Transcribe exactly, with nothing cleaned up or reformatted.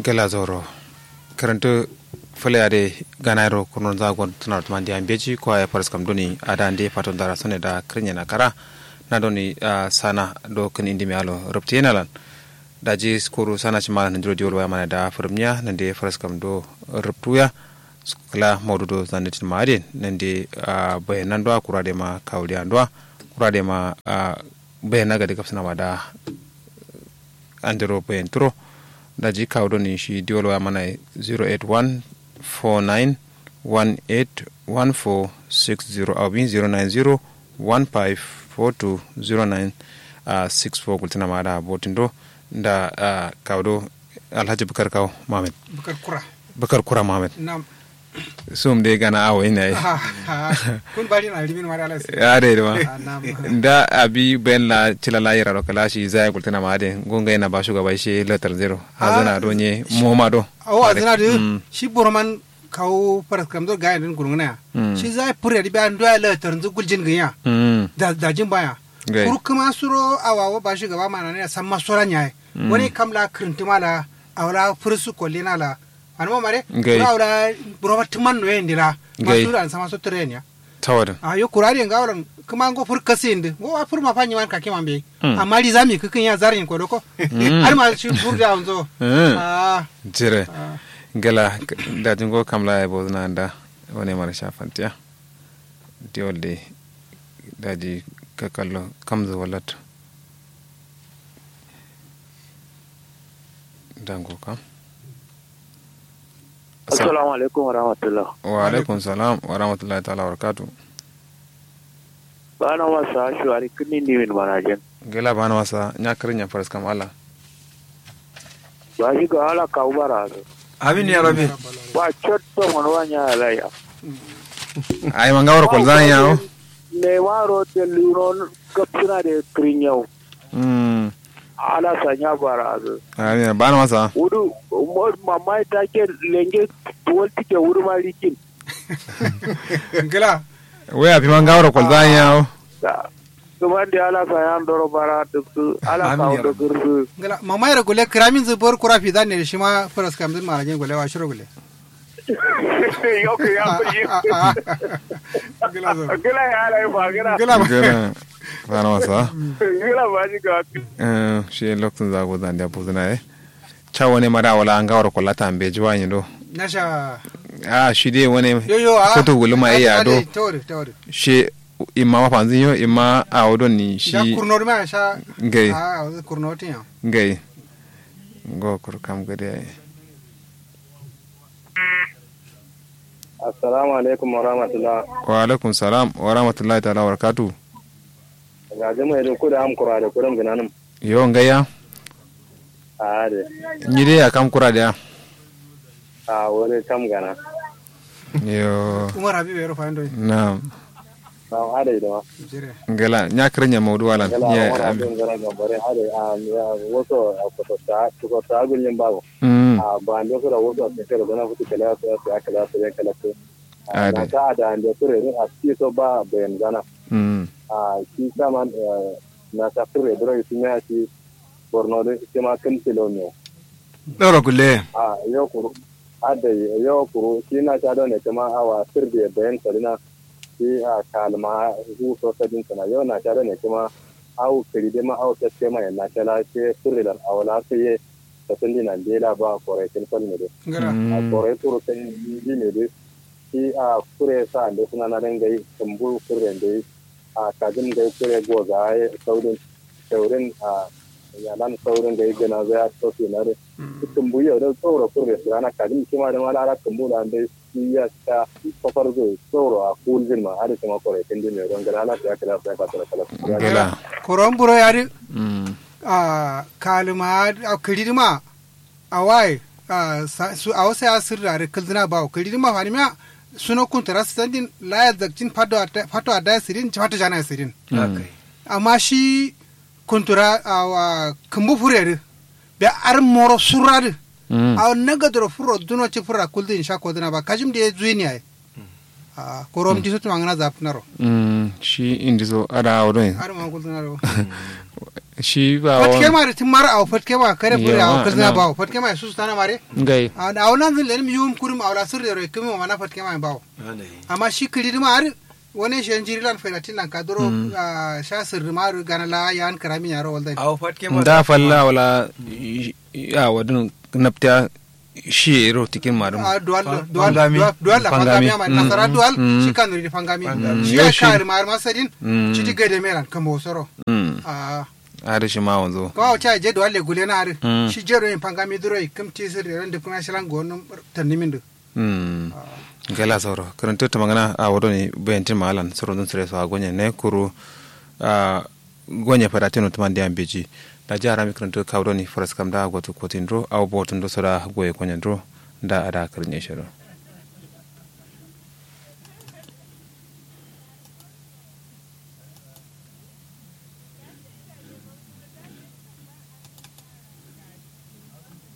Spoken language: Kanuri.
Gela zoro. Kǝrǝntǝ fǝle adǝ ye ganayiro kurnonza gon tǝnaro tǝmande ya mbeji kwa ye faraskam doni adǝ ande fato ndara sone da kǝrǝnyena kara. Na doni sana do kǝn indimiya lo rǝptǝ yena lan. Daji kuru sana shima lan nandiro diwol waya mana da fǝrǝmniya nande faraskam do rǝptuya. Kǝla maudu do zanditin ma adǝ ye nande bayan nan do wa kura dai ma kawuliya nan do wa kura dai ma bayan na gade gabsǝna ma da. Andero bayan turo. Daji kawu doni shi diwol waya mana ye zero eight one four nine one eight one four six zero aubin zero nine zero one five four two zero nine six four gultǝna ma da botin do. Nda kawu do alhaji bukar kawu muhammad. Bukar kura. Bukar kura muhammad. Nam. Sum dai gana awo ina ye. Kun bari na limin mari alas. Ya dai duma. Nda abi ben la cila la yira ro kala shi zai gultuna ma adin gunga ina ba shugaba shi letter zero hazana do nye moma do. Awo hazana do. Shi boroman kawo faras kamzo ga yadin gulguna ya. Shi zai fure di biya ndo ya letter nzu guljin ganya. Da jin baya. Kuru kuma suro awawo ba shugaba mana ne samma sura nyaye. Wani kam la krintima la awla fursu kollina la. Anuma mare. Ngai. Kura wala roba tuman no yendira. Ngai. Masuru an sama so trenya. Tawadin. A yo kurari nga wala kuma ngo fur kasi indi ngo wa fur ma fanyi man kake mambe. Amma ri zami kukin ya zarin ko doko. Har ma shi fur da unzo. Ah. Jire. Gala. Daji ngo kamla ya bozna anda. Wane mara shafantiya. Diwolde. Daji kakallo kamzu walat. Dango kam. Assalamu alaikum warahmatullah. Wa alaikum salam warahmatullahi ta'ala wabarakatuh. Bana wasa shuwari kini ni min manajin. Gela bana wasa nya kirin nya faras kam ala. Ba shi ga ala kawu bara. Amin ya rabbi. Ba cotto mon wa nya alaiya. Ai manga wara kolzan yawo. Ne waro te luno gapsuna de kirin yawo. Ala sanya bara azu. Amin bana masa. Wudu mamai take lenge tuwal tike wudu ma rikin. Ngila. Wai afi ma ngawro kolzan yawo. Kuma de ala sanya ndoro bara duksu ala kawo duksu. Ngila mamai ra gule kiramin zu bor kura fi zan ne shi ma faras kam zun marajin gule wa shiro gule. Yoku ya kuji. Gila ya lai ba gila. Gila. Gila. Bana wasa. Gila ba ji ka. Eh shi lokacin zago zan da buzuna eh. Cha wane mara wala an gawar kullata an beji wani do. Nasha. Ah shi dai wane. Yo yo a. Kutu guluma iya do. Tawari tawari. Shi imma mafanzin yo imma a wodon ni shi. Kurno ma sha. Ngai. Ah kurno tin yo. Ngai. Ngo kur kam gade. Assalamu alaikum warahmatullah. Wa alaikum salam warahmatullahi ta'ala wabarakatuh. Ga jama'a da ku da am kura da kuram ginanin. Yo ngaya. A de. Ni dai ya kam kura da. A wani kam gana. Yo. Umar habibu ya rufa indo. Na'am. Na'am adai da ma. Ngala nya kirin nya maudu walan. Ngala nya wani abin gara gambare adai a woso a kusa ta kusa ta gulin bago. A ba ande sura woso a kusa da gana futu kala ya kala ya kala ya kala. Adai. Na ta da ande sura ne a ci so ba bayan gana. A shi saman na ta sura dura shi ne a shi borno da shi ma kan tilo ne. Doro gulle. A yo kuru. Adai yo kuru shi na sha done kuma awa sirde bayan sarina. Shi a kalma hu so sadin sana yo na sha done kuma au kiri de ma au takke ma na sha la she furilan awala sai ye. Satun dina de la ba kore kin fal ne de. A kore kuru sai di ne de. Shi a kure sa de suna na dangai tumbu kure de. A kajin gai kure goza ye saudin. Saurin a yalan saurin gai gana zai a sofi na de. Tumbu yau da tsoro kure su rana kajin kima da mala ara tumbu na de. Iya ta kofar zai tsoro a kuljin ma ada kuma kore kin din ne don gana ala ya kala ya ka tsara kala. Gela. Koron buro ya di. A kalma a kiri ma. Awai. Awo sai a sirra da kildina bawo kiri ma fani ma. Suno kuntara su sandin laya zakcin fato a daya sirin fato jana sirin. Amma shi kuntura awa kumbu fureri. Be ar moro surradi. Awa nagadoro furo duno ci fura kuldi in sha kodina ba kajim de zuini ai. Korom diso tuma ngana zap naro. Shi indiso ada awo don. Ar ma kuldi naro. Shi ba fatke ma da tun mara awo fatke ma kare buri awo kalzina bawo fatke ma su su tana mare. Ngai. Awo nan zin lenim yuwum kurum awo la sirri ro ikkumi ma mana fatke ma bawo. Amma shi kiri duma har wani shi yan jiri lan faida tin lan kaduro. Sha sirri ma ru gana la yan karami yaro walda. Awo fatke ma da falla wala. Awo dun naptiya. Shi ro tikin ma dum. Dual dual dual dual la fangami ma nasara dual. Shi kanuri di fangami. Shi ya kari ma masadin. Shi di gade meran kambo soro. Ari shi ma wanzo. Kawo cha je dual le gule na ari. Shi je ro yin fangami duro ikim tisir ran duk na shilan gonum. Tannimin du. Gala soro karanta ta magana a wado ne bayantin malan soro dun sire so a gonye ne kuru. Gonye fada tino tuman diyan beji. Da ji harami karanta kawo doni faras kam da gotu kotin duro awo botun do soda goye gonye duro. Da ada karnye shiro.